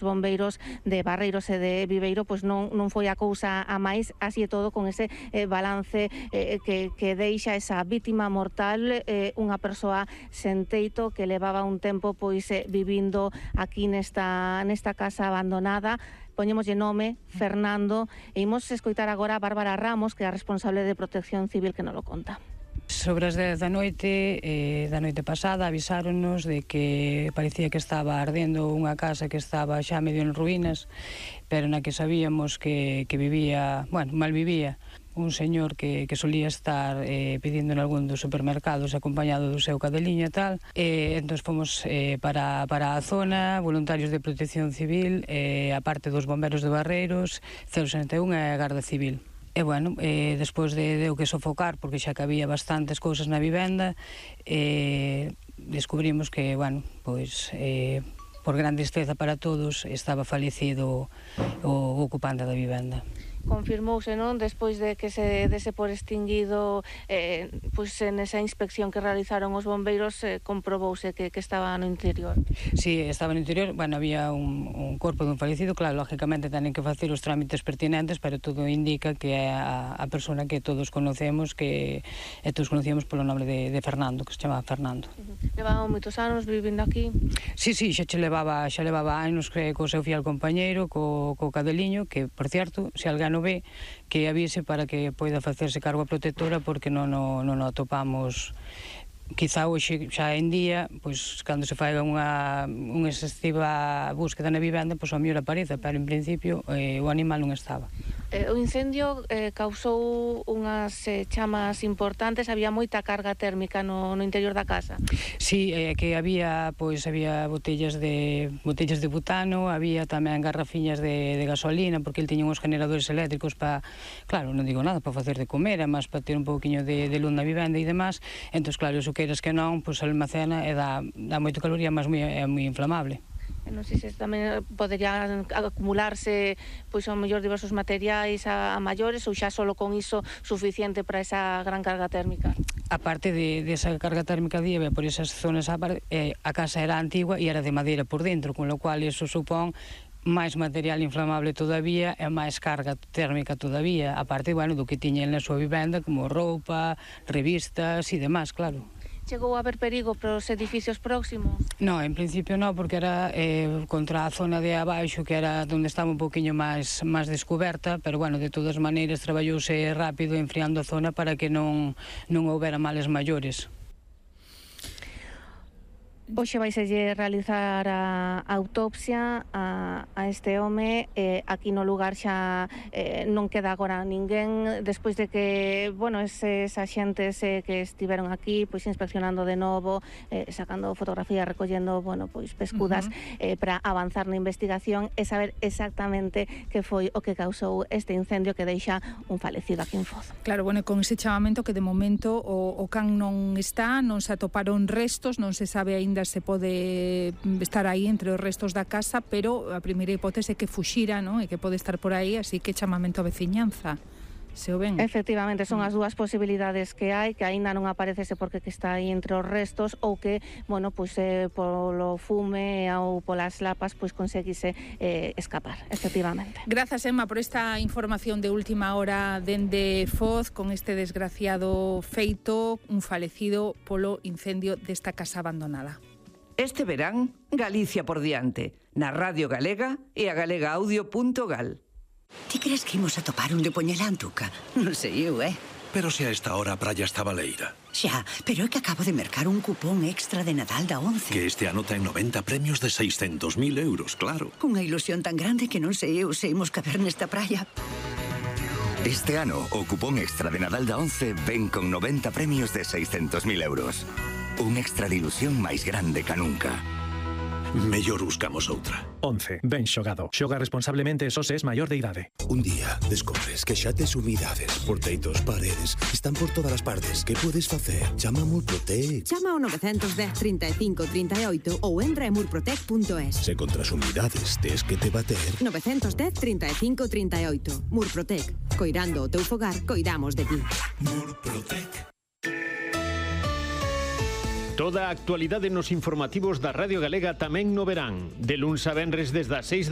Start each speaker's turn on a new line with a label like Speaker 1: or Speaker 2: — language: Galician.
Speaker 1: bombeiros de Barreiros e de Viveiro, pois non foi a cousa a máis, así e todo con ese balance que deixa esa vítima mortal, unha persoa sen teito que levaba un tempo pois vivindo aquí nesta casa abandonada. Poñémoslle nome Fernando e imos escoitar agora a Bárbara Ramos, que é a responsable de Protección Civil, que nos lo conta.
Speaker 2: Sobre as 10 da noite pasada avisáronnos de que parecía que estaba ardendo unha casa que estaba xa medio en ruínas, pero na que sabíamos que vivía, mal vivía un señor que solía estar pedindo en algún dos supermercados acompañado do seu cadeliño e tal. Entón fomos para a zona, voluntarios de Protección Civil, a parte dos bomberos de Barreiros, 061 e a Garda Civil. E despois de o que sofocar, porque xa que había bastantes cousas na vivenda, descubrimos que, por gran tristeza para todos, estaba falecido o ocupante da vivenda.
Speaker 1: Confirmouse, non? Despois de que se dese por extinguido, pois nesa inspección que realizaron os bombeiros, comprobouse que estaba no interior.
Speaker 2: Sí, estaba no interior, había un corpo dun falecido, claro, lógicamente tenen que facer os trámites pertinentes, pero todo indica que é a persona que todos conocemos, que todos conocíamos polo nome de Fernando, que se chamaba Fernando.
Speaker 1: Levaba moitos anos vivindo aquí?
Speaker 2: Sí, xa levaba anos co seu fiel compañeiro, co cadeliño, que, por certo, se alguén no ve, que avise para que poida facerse cargo a protectora, porque non o atopamos. Quizá hoxe xa en día, pois cando se faiga unha excesiva búsqueda na vivenda, pois ao mellor aparece, pero en principio o animal non estaba.
Speaker 1: O incendio causou unhas chamas importantes, había moita carga térmica no interior da casa.
Speaker 2: Sí, que había botellas de butano, había tamén garrafiñas de gasolina, porque el tiña uns generadores eléctricos para, claro, non digo nada, para facer de comer, además para ter un pouquiño de luz na vivenda e demás. Entón, claro, iso queiras que non, pois almacena e dá moito calor e además é moi inflamable.
Speaker 1: Non sei se tamén poderían acumularse pois ao mellor diversos materiais a maiores, ou xa solo con iso suficiente para esa gran carga térmica.
Speaker 2: A parte de esa carga térmica dieve por esas zonas, a casa era antigua e era de madeira por dentro, con lo cual iso supón máis material inflamable todavía e máis carga térmica todavía, a parte do que tiña na súa vivenda, como roupa, revistas e demás, claro.
Speaker 1: Chegou a haber perigo para os edificios próximos?
Speaker 2: Non, en principio non, porque era contra a zona de abaixo, que era onde estaba un poquinho máis descoberta, pero de todas maneiras traballouse rápido enfriando a zona para que non houbera males maiores.
Speaker 1: Hoxe vaiselle realizar a autopsia a este home. Aquí no lugar xa non queda agora ninguén, despois de que, eses axentes que estiveron aquí pois inspeccionando de novo, sacando fotografías, recollendo, pescudas para avanzar na investigación e saber exactamente que foi o que causou este incendio que deixa un falecido aquí en Foz.
Speaker 3: Claro, con ese chamamento que de momento o can non está, non se atoparon restos, non se sabe aínda se pode estar aí entre os restos da casa, pero a primeira hipótese é que fuxira, e que pode estar por aí, así que chamamento a veciñanza. Se o ven.
Speaker 1: Efectivamente, son as dúas posibilidades que hai, que aínda non aparecese porque está aí entre os restos, ou que, polo fume ou polas lapas, conseguise escapar, efectivamente.
Speaker 3: Grazas, Emma, por esta información de última hora dende Foz, con este desgraciado feito, un falecido polo incendio desta casa abandonada.
Speaker 4: Este verán, Galicia por diante, na Radio Galega e a galegaaudio.gal.
Speaker 5: Ti crees que imos a topar un de Poñelantuca? Non sei eu,
Speaker 6: Pero se a esta hora a praia está baleira.
Speaker 5: Xa, pero é que acabo de mercar un cupón extra de Nadal da 11.
Speaker 6: Que este ano ten 90 premios de 600.000 euros, claro.
Speaker 5: Cunha ilusión tan grande que non sei eu se imos caber nesta praia.
Speaker 7: Este ano, o cupón extra de Nadal da 11 ven con 90 premios de 600.000 euros. Un extra de ilusión máis grande que nunca.
Speaker 6: Mellor buscamos outra.
Speaker 8: 11. Ben xogado. Xoga responsablemente e só se es maior de idade.
Speaker 9: Un día descobres que xa tes humidades, porteitos, paredes, están por todas as partes. Que podes facer? Chama a Murprotec.
Speaker 10: Chama ao 910 35 38 ou entra en murprotec.es.
Speaker 9: Se contra as humidades tes que te bater.
Speaker 10: 910 35 38. Murprotec. Coirando o teu fogar, coidamos de ti.
Speaker 9: Murprotec.
Speaker 11: Toda a actualidade nos informativos da Radio Galega tamén no verán. De luns a venres desde as 6 da